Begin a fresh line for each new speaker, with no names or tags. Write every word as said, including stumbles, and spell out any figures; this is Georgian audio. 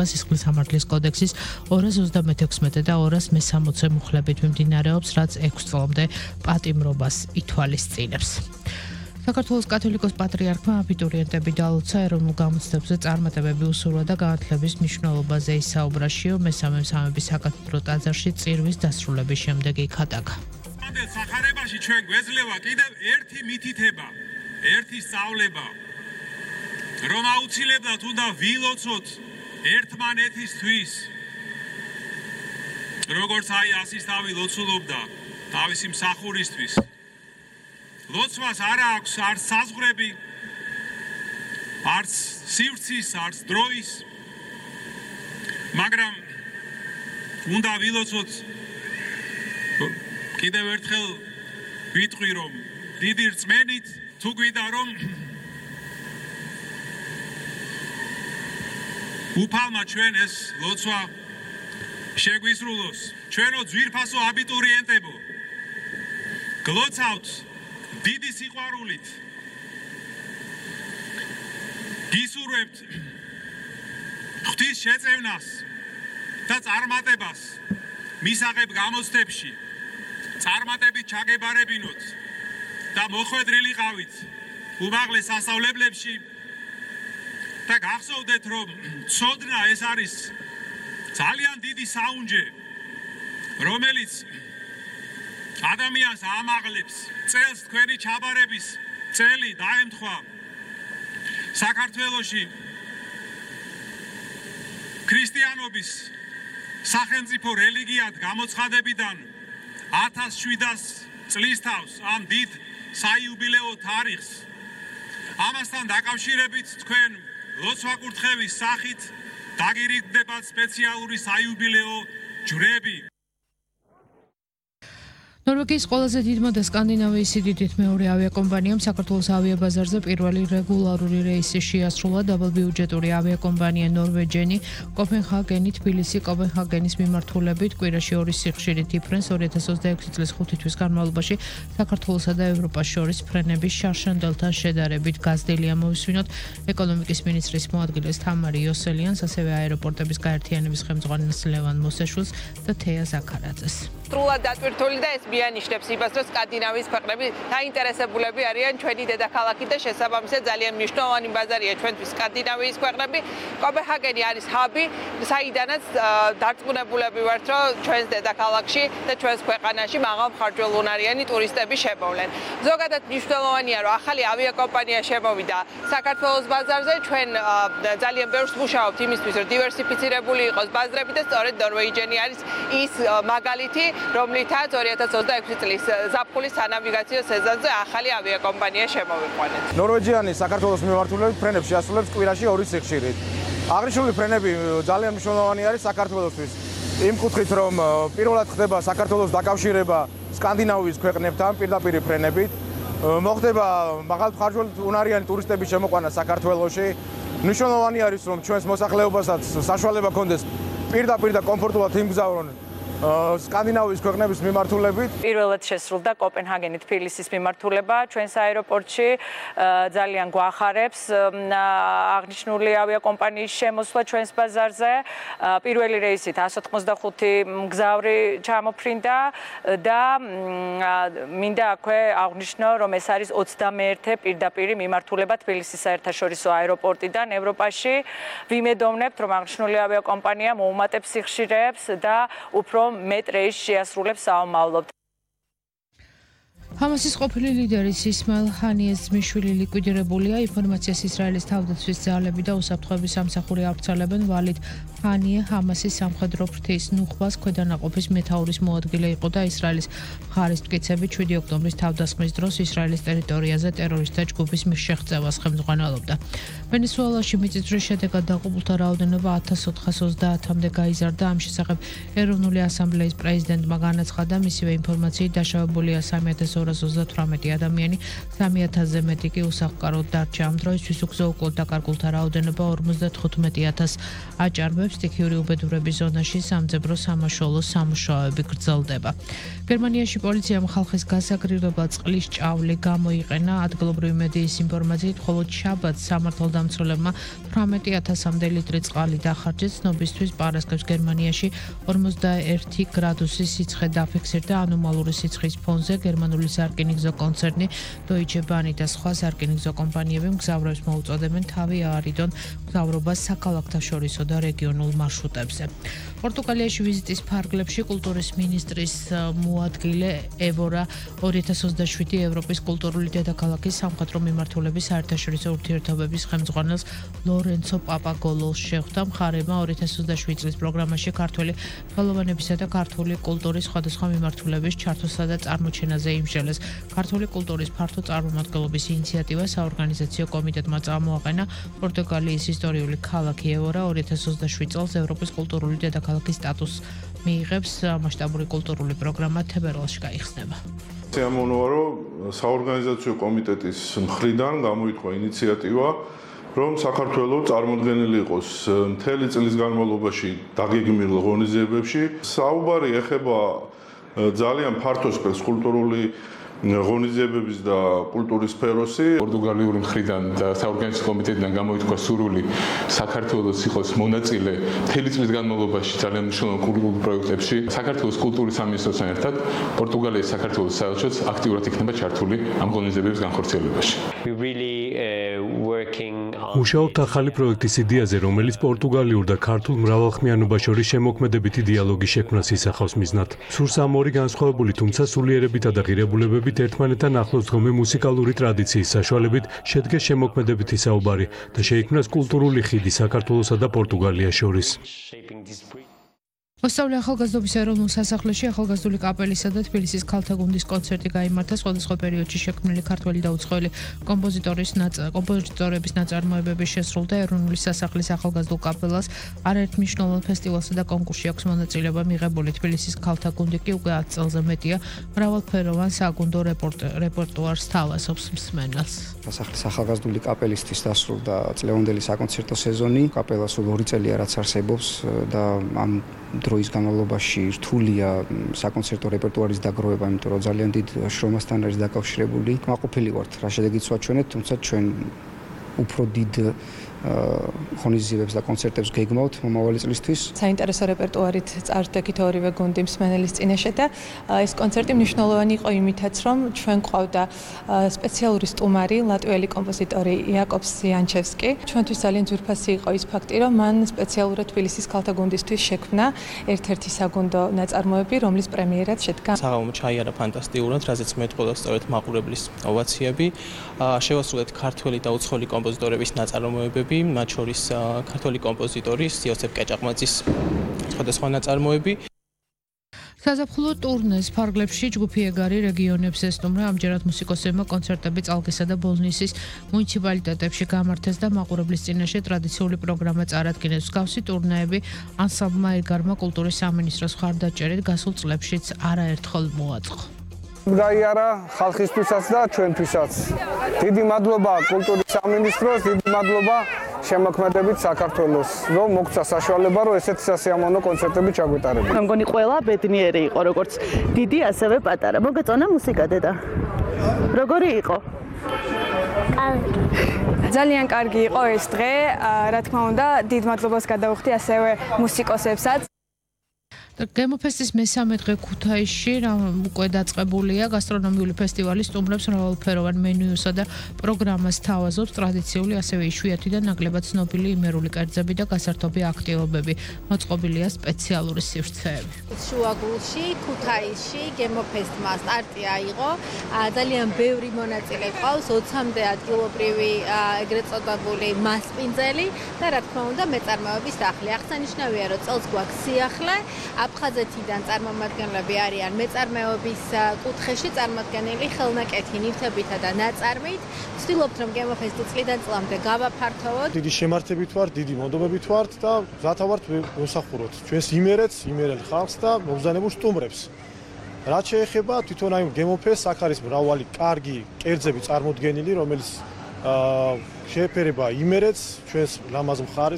სისხლის სამართლის კოდექსის ორას ოცდამეექვსმეტე და ორას მესამოცე მუხლებით მიმდინარეობს, რაც ექვს წლამდე პატიმრობას ითვალისწინებს. საქართველოს კათოლიკოს პატრიარქმა აბიტურიენტები დაალოცა ეროვნულ გამოცდებზე წარმატებები უსურვა და განათლების მნიშვნელობაზე ისაუბრა. მესამე სამების საკათედრო ტაძარში წირვის დასრულების შემდეგ იქადაგა.
სახარებაში ჩვენ გვეძლევა კიდევ ერთი მითითება, ერთი სწავლება, რომ აუცილებლად უნდა ვილოცოთ ერთმანეთისთვის, როგორც აი ასისთავი ლოცულობდა თავისი მსახურისთვის. ლოცვას არ აქვს არც საზღვრები, არც სივრცის, არც დროის, მაგრამ უნდა ვილოცოთ. კიდევ ერთხელ ვიტყვი, რომ დიდი რწმენით თუ გვიდა რომ უფალმა ჩვენ ეს ლოცვა შეგვისრულოს. ჩვენო ძვირფასო აბიტურიენტებო, გლოცავთ დიდი სიყვარულით. გისურვებთ ღვთის შეწევნას და წარმატებას მისაღებ გამოცდებში. წარმატებით ჩაგებარებინოთ და მოხვედრილიყავით უმაღლეს სასწავლებლებში და გახსოვდეთ, რომ ცოდნა ეს არის ძალიან დიდი საუნჯე, რომელიც ადამიანს ამაღლებს. წელს თქვენი ჩაბარების წელი დაემთხვა საქართველოში ქრისტიანობის სახელმწიფო რელიგიად გამოცხადებიდან ათას შვიდას წლის თავს ამ დიდ საიუბილეო თარიღს. ამასთან დაკავშირებით თქვენ ლოცვა-კურთხევის სახით დაგირიგდებათ სპეციალური საიუბილეო ჯვრები.
ნორვეგიის ყველაზე დიდმა და სკანდინავიის სიდიდით მეორე ავიაკომპანიამ საქართველოს ავიაბაზარზე პირველი რეგულარული რეისი შეასრულა. დაბალბიუჯეტური ავიაკომპანია ნორვეჯენი კოპენჰაგენი, თბილისი, კოპენჰაგენის მიმართულებით კვირაში ორი სიხშირით იფრენს. ორი ათას ოცდაექვსი წლის ხუთი თვის განმავლობაში საქართველოსა და ევროპას შორის ფრენების შარშანდელთან შედარებით გაზრდილია. მოვისმინოთ ეკონომიკის მინისტრის მოადგილეს თამარი იოსელიანს, ასევე აეროპორტების გაერთიანების ხელმძღვანელს ლევან მოსეშვილს და თეა ზაქარაძეს.
სრულად დატვირთული და ეს მიანიშნებს იმას, რომ სკანდინავიის ქვეყნები დაინტერესებულები არიან ჩვენი დედაქალაქით და შესაბამისად ძალიან მნიშვნელოვანი ბაზარია ჩვენთვის სკანდინავიის ქვეყნები. კოპენჰაგენი არის ჰაბი, საიდანაც დარწმუნებულები ვართ, რომ ჩვენს დედაქალაქში და ჩვენს ქვეყანაში მაღალმხარჯველუნარიანი ტურისტები შემოვლენ. ზოგადად მნიშვნელოვანია, რომ ახალი ავიაკომპანია შემოვიდა საქართველოს ბაზარზე. ჩვენ ძალიან ბევრს მუშაობთ იმისთვის, რომ დივერსიფიცირებული იყოს ბაზრები და სწორედ ნორვეჯენი არის ის მაგალითი, რომლითაც ორი ათას ოცდაექვსი წლის ზაფხულის სანავიგაციო სეზონზე ახალი ავიაკომპანია შემოვიყვანეთ.
ნორვეჯიანი საქართველოს მიმართულებით ფრენებს შეასრულებს კვირაში ორი სიხშირით. აღნიშნული ფრენები ძალიან მნიშვნელოვანი არის საქართველოსთვის. იმ კუთხით, რომ პირველად ხდება საქართველოს დაკავშირება სკანდინავიის ქვეყნებთან პირდაპირ ფრენებით, მოხდება მაღალმხარჯველუნარიანი ტურისტების შემოყვანა საქართველოში. მნიშვნელოვანი არის, რომ ჩვენს მოსახლეობასაც საშუალება ჰქონდეს პირდაპირ და კომფორტულად იმგზავრონ სკანდინავიის ქვეყნების მიმართულებით.
პირველად შესრულდა კოპენჰაგენი თბილისის მიმართულება ჩვენს აეროპორტში. ძალიან გვახარებს აღნიშნული ავიაკომპანიის შემოსვლა ჩვენს ბაზარზე. პირველი რეისით εκατს ოცდახუთი მგზავრი ჩამოფრინდა და მინდა აქვე აღვნიშნო, რომ ეს არის ოცდამეერთე პირდაპირი მიმართულება თბილისის საერთაშორისო აეროპორტიდან ევროპაში. ვიმედოვნებთ, რომ აღნიშნული ავიაკომპანია მოუმატებს სიხშირეებს და უფრო მეტ რეისს შეასრულებს საომავლოდ.
ჰამასის ყოფილი ლიდერის ისმაილ ჰანიეს ძმისშვილი ლიკვიდირებულია. ინფორმაციას ისრაელის თავდაცვის ძალები და უსაფრთხოების სამსახური ავრცელებენ. ვალიდ ჰანიე ჰამასის სამხედრო ფრთის ნუხბას ქვედანაყოფის მეთაურის მოადგილე იყო და ისრაელის მხარის მტკიცებით შვიდი ოქტომბრის თავდასხმის დროს ისრაელის ტერიტორიაზე ტერორისტთა ჯგუფის შეღწევას ხელმძღვანელობდა. ვენესუელაში მიწისძვრის შედეგად დაღუპულთა რაოდენობა ათას ოთხას ოცდაათამდე გაიზარდა. ამ შესახებ ეროვნული ასამბლეის პრეზიდენტმა განაცხადა, მისივე ინფორმაციით დაშავებულია სამი ათას ორ ორასი ოცდათვრამეტი ადამიანი, სამი ათასზე მეტი კი უსახლკაროდ დარჩა. ამ დროისთვის უგზო-უკვლოდ დაკარგულთა რაოდენობა ორმოცდათხუთმეტი ათასს აჭარბებს. სტიქიური უბედურების ზონაში სამძებრო სამაშუალო სამუშაოები გრძელდება. გერმანიაში პოლიციამ ხალხის გასაგრილებლად წყლის ჭავლი გამოიყენა. ადგილობრივი მედიის ინფორმაციით, მხოლოდ შაბათს სამართალდამცველებმა თვრამეტი ათასამდე ლიტრი წყალი დახარჯეს. ცნობისთვის პარასკევს გერმანიაში ორმოცდაერთი გრადუსი სიცხე დაფიქსირდა. ანომალური სიცხის ფონზე გერმანული სარკინიგზო კონცერნი Deutsche Bahn და სხვა სარკინიგზო კომპანიები მგზავრებს მოუწოდებენ თავი აარიდონ მგზავრობას საქალაქთა შორისო და რეგიონულ მარშრუტებზე. პორტუგალიაში ვიზიტის ფარგლებში კულტურის მინისტრის მოადგილე ევორა ორი ათას ოცდაშვიდი ევროპის კულტურული დედაქალაქის სამხატვრო მიმართულების საერთაშორისო ურთიერთობების ხელმძღვანელს ლორენცო პაპაგოლოს შეხვდა. მხარემა ორი ათას ოცდაშვიდი წლის პროგრამაში ქართველი ხელოვანებისა და ქართული კულტურის სხვადასხვა მიმართულების ჩართვასა და წარმოჩენაზე იმსჯელეს. ქართული კულტურის ფართო წარმომადგენლობის ინიციატივა საორგანიზაციო კომიტეტმა წამოაყენა. პორტუგალიის ისტორიული ქალაქი ევორა ორი ათას ოცდაშვიდი წელს ევროპის კულტურული დედაქალაქის სტატუსს მიიღებს. მასშტაბური კულტურული პროგრამა თებერვალში გაიხსნება.
Siamonoa, რომ საორგანიზაციო კომიტეტის მხრიდან გამოითქვა ინიციატივა, რომ საქართველოს წარმოდგენილი იყოს მთელი წლის განმავლობაში დაგეგმილ ღონისძიებებში. საუბარი ეხება ძალიან ფართო სპექტრს კულტურული ღონისძიებების და კულტურის სფეროსი.
პორტუგალიური მხრიდან და საორგანიზაციო კომიტეტიდან გამოითქვა სურვილი საქართველოს იყოს მონაწილე მთელი წლის განმავლობაში ძალიან მნიშვნელოვან კულტურულ პროექტებში. საქართველოს კულტურის სამინისტროსთან ერთად პორტუგალიის საქართველოს საელჩოც აქტიურად იქნება ჩართული ამ ღონისძიებების განხორციელებაში.
მუშაობთ ახალი პროექტის იდეაზე, რომელიც პორტუგალიურ და ქართულ მრავალხმიანობა შორის შემოქმედებითი დიალოგის შექმნას ისახავს მიზნად. სურს ამ ორი განსხვავებული, თუმცა სულიერებითა და ღირებულებებით ერთმანეთთან ახლოს დგომი მუსიკალური ტრადიციის საშუალებით შედგეს შემოქმედებითი საუბარი და შეიქმნას კულტურული ხიდი საქართველოსა და პორტუგალიას შორის.
მოსწავლე ახალგაზრდობის ეროვნულ სასახლეში ახალგაზრდული კაპელისა და თბილისის ქალთა გუნდის კონცერტი გაიმართა. სხვადასხვა პერიოდში შექმნილი ქართველი და უცხოელი კომპოზიტორის კომპოზიტორების ნაწარმოებები შესრულდა. ეროვნული სასახლის ახალგაზრდულ კაპელას არაერთ მნიშვნელოვან ფესტივალსა და კონკურსში აქვს მონაწილეობა მიღებული. თბილისის ქალთა გუნდი კი უკვე ათ წელზე მეტია მრავალფეროვან საგუნდო რეპერტუარს თავაზობს მსმენელს.
სასახლის ახალგაზრდული კაპელისთვის დასრულდა წლევანდელი საკონცერტო სეზონი. კაპელა სულ ორი წელია რაც არსებობს და ამ დროის განმავლობაში რთულია საკონცერტო რეპერტუარის დაგროვება, იმიტომ რომ ძალიან დიდ შრომასთან არის დაკავშირებული. მაყოფილი ვართ, რა შედეგიც ვაჩვენეთ, თუმცა ჩვენ უფრო დიდ ღონისძიებებს და კონცერტებს გეგმავთ მომავალი წლისთვის.
საინტერესო რეპერტუარით წარდგეთ ორივე გუნდი მსმენელის წინაშე და ეს კონცერტი მნიშვნელოვანი იყო იმითაც, რომ ჩვენ ყავდა სპეციალური სტუმარი, ლატვიელი კომპოზიტორი იაკობს იანჩევსკი. ჩვენთვის ძალიან ძვირფასი იყო ის ფაქტი, რომ მან სპეციალურად თბილისის ქალთა გუნდისთვის შექმნა ერთ-ერთი საგუნდო ნაწარმოები, რომლის პრემიერაც შედგა.
საღამო ჩაიარა ფანტასტიკურად, რაზეც მეტყველა სწორედ მაყურებლის ოვაციები. შევასრულეთ ქართველი და უცხოელი კომპოზიტორების ნაწარმოებები. მათ შორის ქართული კომპოზიტორის იოსებ კეჭაყმაძის სხვადასხვა ნაწარმოები.
საზაფხულო ტურნეს ფარგლებში ჯგუფი ეგარი რეგიონებს ესტუმრა. ამჯერად მუსიკოსებმა კონცერტები წალკისა და ბოლნისის მუნიციპალიტეტებში გამართეს და მაყურებლის წინაშე ტრადიციული პროგრამა წარადგინეს. მსგავსი ტურნეები ანსამბლმა ეგარმა კულტურის სამინისტროს მხარდაჭერით გასულ წლებშიც არაერთხელ მოაწყო.
გაიარა ხალხისთვისაც და ჩვენთვისაც. დიდი მადლობა კულტურის სამინისტროს, დიდი მადლობა შემოქმედებით საქართველოს, რომ მოგცა საშუალება, რომ ესეთი სასიამოვნო კონცერტები ჩაგვეტარებინა.
მე მგონი ყველა ბედნიერი იყო, როგორც დიდი, ასევე პატარა. მოგეწონა მუსიკა დედა? როგორი იყო?
ძალიან კარგი იყო ეს დღე, რა თქმა უნდა, დიდ მადლობას გადავხდი ასევე მუსიკოსებსაც.
გემოფესტის მესამე დღე ქუთაისში უკვე დაწყებულია. გასტრონომიული ფესტივალი სტუმრებს მრავალფეროვან მენიუსა და პროგრამას თავაზობს. ტრადიციული, ასევე იშვიათი და ნაკლებად ცნობილი იმერული კერძები და გასართობი აქტივობები. მოწყობილია სპეციალური სივრცეები.
შუაგულში, ქუთაისში გემოფესტმა სტარტი აიღო. ძალიან ბევრი მონაწილე ყავს, ოცამდე ადგილობრივი ეგრეთ წოდებული მასპინძელი და რა თქმა უნდა მეწარმოების სახლი. აღსანიშნავია, რომ წელს გვაქვს სიახლე. აფხაზეთიდან წარმომადგენლები არიან მეწარმეობის კუთხეში წარმოდგენილი ხელნაკეთი ნივთებითა და ნაწარმით. ვცდილობთ, რომ გემოფესტი წლიდან წლამდე გავაფართოვოთ.
დიდი შემართებით ვართ, დიდი მონდომებით ვართ და მზათა ვართ ვემსახუროთ ჩვენს იმერეთს, იმერელ ხალხს და მობრძანებულ სტუმრებს. რაც შეეხება თვითონ აი გემოფესტს, აქ არის მრავალი კარგი კერძები წარმოდგენილი, რომელიც შეეფერება იმერეთს, ჩვენს ლამაზ მხარეს.